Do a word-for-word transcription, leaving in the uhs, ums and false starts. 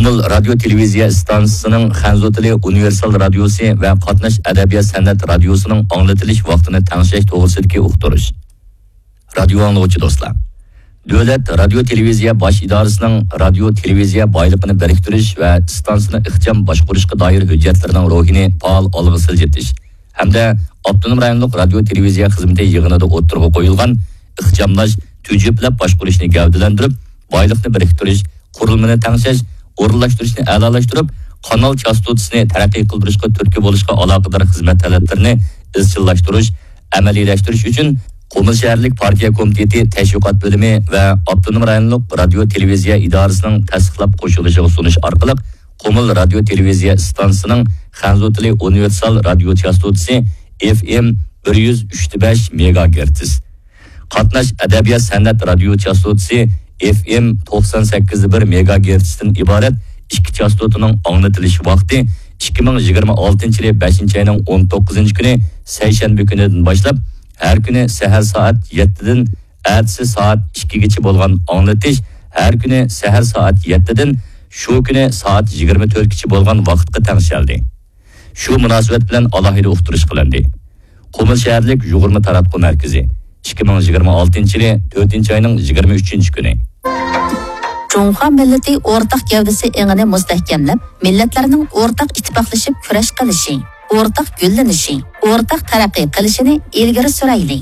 قۇمۇل رادىيو تېلېۋىزىيە ئىستانسىسىنىڭ خەنزۇ تىلى ئۇنىۋېرسال رادىيوسى ۋە قاتناش ئەدەبىيات سەنئەت رادىيوسىنىڭ ئاڭلىتىلىش ۋاقتىنى تەڭشەش توغرىسىدىكى ئۇقتۇرۇش. رادىيو ئاڭلىغۇچى دوستلار، دۆلەت رادىيو تېلېۋىزىيە باش ئىدارىسىنىڭ رادىيو تېلېۋىزىيە بايلىقىنى بىرىكتۈرۈش ۋە ئىستانسىنى ئىخچام باشقۇرۇشقا دائىر ھۆججەتلىرىنىڭ روھىنى پائال ئالغا سىلجىتىش ھەمدە ئاپتونوم رايونلۇق رادىيو تېلېۋىزىيە خىزمىتى يىغىنىدا ئوتتۇرىغا قويۇلغان ئىخچاملاش، تۈجۈپلەپ باشقۇرۇشنى گەۋدىلەندۈرۈپ، بايلىقنى بىرىكتۈرۈش، قۇرۇلمىنى تەڭشەش، ئورۇنلاشتۇرۇشنى ئەلالاشتۇرۇپ، قانال چاستوتىسىنى تەرەققىي قىلدۇرۇشقا تۈرتكە بولۇشقا ئالاقىدار خىزمەت تەلەپلىرىنى ئىزچىللاشتۇرۇش، ئەمەلىيلەشتۈرۈش ئۈچۈن قۇمۇل شەھەرلىك پارتىيە كومىتېتى تەشۋىقات بۆلۈمى ۋە ئاپتونوم رايونلۇق رادىيو تېلېۋىزىيە ئىدارىسىنىڭ تەستىقلاپ قوشۇلۇشىغا سۇنۇش ئارقىلىق، قۇمۇل رادىيو تېلېۋىزىيە ئىستانسىسىنىڭ خەنزۇ تىلى ئۇنىۋېرسال رادىيو چاستوتىسى، ئېف ئېم بىر يۈز ئۈچ بەش مېگاگېرتس، قاتناش ئەدەبىيات سەنئەت رادىيو چاستوتىسى، ئېف ئېم توقسان سەككىز بىر مېگاگېرتستىن ئىبارەت ئىككى چاستوتىنىڭ ئاڭلىتىلىش ۋاقتى ئىككى مىڭ يىگىرمە ئالتىنچى يىلى بەشىنچى ئاينىڭ ئون توققۇزىنچى كۈنى سەيشەنبە كۈنىدىن باشلاپ، ھەر كۈنى سەھەر سائەت يەتتىدىن ئەتىسى سائەت ئىككىگىچە بولغان ئاڭلىتىش ھەر كۈنى سەھەر سائەت يەتتىدىن شۇ كۈنى سائەت يىگىرمە تۆتكىچە بولغان ۋاقىتقا تەڭشەلدى. شۇ مۇناسىۋەت بىلەن ئالاھىدە ئۇقتۇرۇش قىلىندى. قۇمۇل شەھەرلىك يۇغۇرما تاراتقۇ مەركىزى، ئىككى مىڭ يىگىرمە ئالتىنچى يىلى تۆتىنچى ئاينىڭ يىگىرمە ئۈچىنچى كۈنى. جۇڭخۇا مىللىتى ئورتاق گەۋدىسى ئېڭىنى مۇستەھكەملەپ، مىللەتلەرنىڭ ئورتاق ئىتتىپاقلىشىپ كۈرەش قىلىشى، ئورتاق گۈللىنىشى، ئورتاق تەرەققىي قىلىشىنى ئىلگىرى سۈرەيلى.